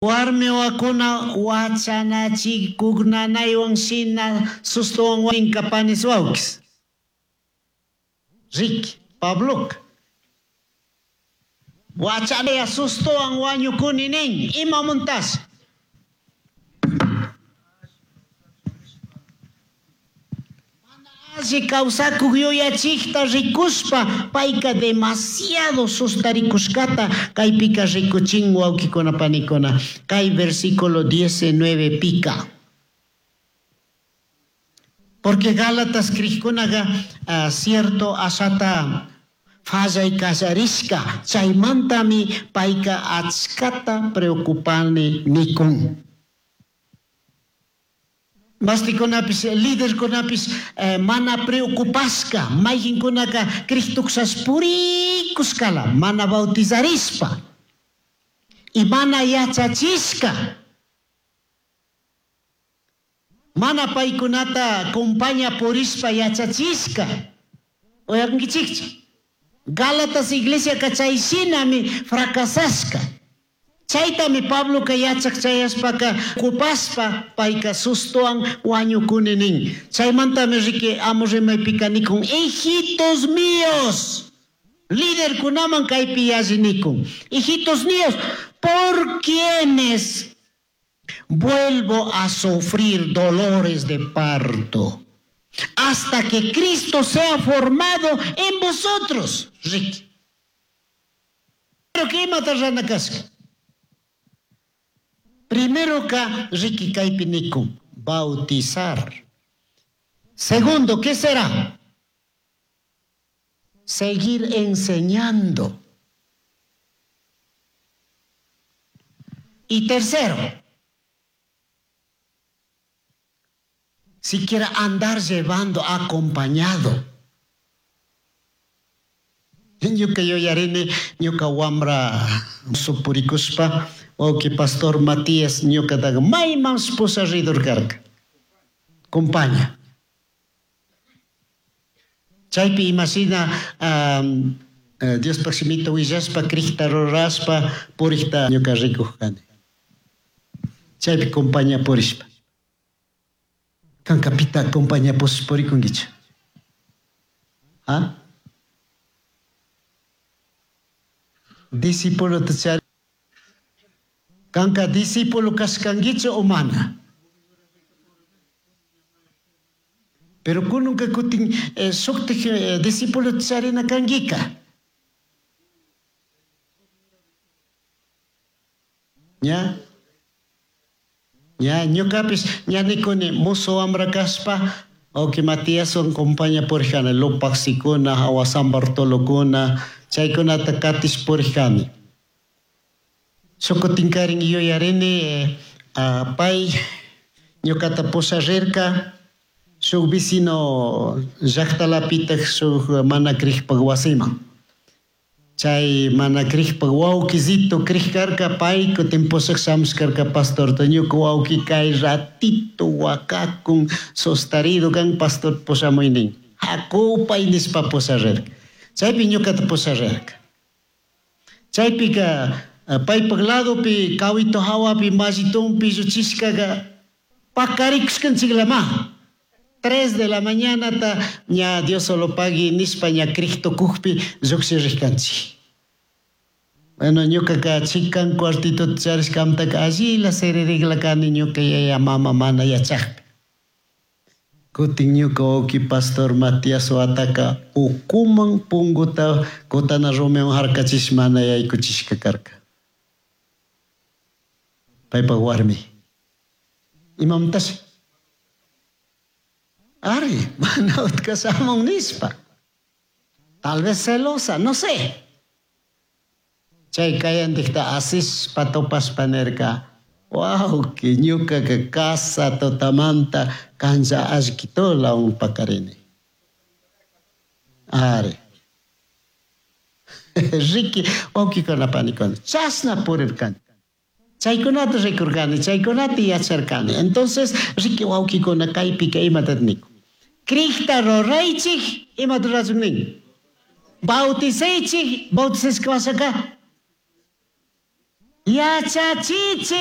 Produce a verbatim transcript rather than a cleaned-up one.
Warmi wawakuna wachanachikuk nanaywan shina sustuwan wañinka panis wawkis. Riki, Pabloka. Wachanaya sustuwan wañukuni nin, imamuntash? Alli kawsakuk yuyachikta rikushpa payka demasiado sustarikushkata kaypika rikuchin wawkikuna panikuna kay versículo diecinueve pika. Porque Gálatas krikkunaqa uh, cierto ashata fallay kallarishka chaymantami payka achkata preocupani nikun. Mastikunapis, liderkunapis eh, mana preocupashka, mayqinkunaka Cristuksas purikushkala, mana bautizarishpa y mana yachachishka, mana paykunata compaña purishpa yachachishka. Uyakunkichikchu? Gálatas iglesiaka chay shinami fracasashka. Chaytami Pabloka yachaq chayashpaka kupaspa payka sustuwan wañukuni nin. Chaymantami riki amo rimaypika nikun, hijitos míos, liderkunaman kaypi yalli nikun, hijitos míos, por quienes vuelvo a sufrir dolores de parto, hasta que Cristo sea formado en vosotros. Riki. Pero ¿qué imata rana kashka? Primero ka riki kaypi nikun, bautizar. Segundo, ¿qué será? Seguir enseñando. Y tercero, siquiera andar llevando acompañado. Ñuka yuyarini, ñuka wambra supurikuspa, wawqi pastor Matías ñukataqa mayman pusaridur karka. Compaña. Chaypi imashina um, Diospaj shimita willashpa, Crista rurashpa, purikta ñuka rikuj kani. Chaypi compaña purishpa. Kanka pita compaña purikunkichu? ¿Ah? Discípulo chari. Kanka discípulo kashkankichu o mana? Pero kununka kutin eh, shuktik eh, discípulo charina kankika. Ña? Ña, ñukapis ña nikuni musu wambra kashpa, wawqi Matíaswan compaña purijani, Lupaksikuna, hawa San Bartolokuna, chaykunata katish purijani. Shukutinkarin yuyarini eh, uh, pay ñukata pusharirka shuk vecino llaqtalapitaj shuk mana krikpak wasiman. Chay mana krikpak wawqisito krik karka pay kutin pushak shamush karka pastorta ñuka wawqi kay ratito wakakun sostarido kan pastor pushamuynin. Hakupay nishpa pusharirka. Chaypi ñukata pusharirka. Chaypika paypak ladopi kawito hawapi mallitunpi lluchishkaqa pakarikushkanchiklama. Tres de la mañana ta ña Dios solo pagui nishpa ña Cristo kukpi lluqshirishkanchik. Bueno, ñukaka chikan cuartito charishkamtaka allila siririkla kani ñuka yaya mama mana yachakpi. Kutin ñuka wawqi pastor Matías wataka ukuman punguta kutana rumiwan harkachish mana yaykuchishka karka. Paypak warmi. Imamantashi? Ari, mana utka shamun nishpa. Tal vez celosa, no sé. Chay kayantikta asishpa topashpa nirka, wawqi ñukaka casa tutamanta kanlla allkitulawan pakarini. Ari. Riki, wawqikuna panikuna, chashna purirkani. Chaykunata rikurkani, chaykunata yacharkani. Entonces, riki wawqikuna kaypika imata nikun. Crikta ruraychik, imata rurachun nin? Bautizaychik, bautizashka wasaka. Yachachichij.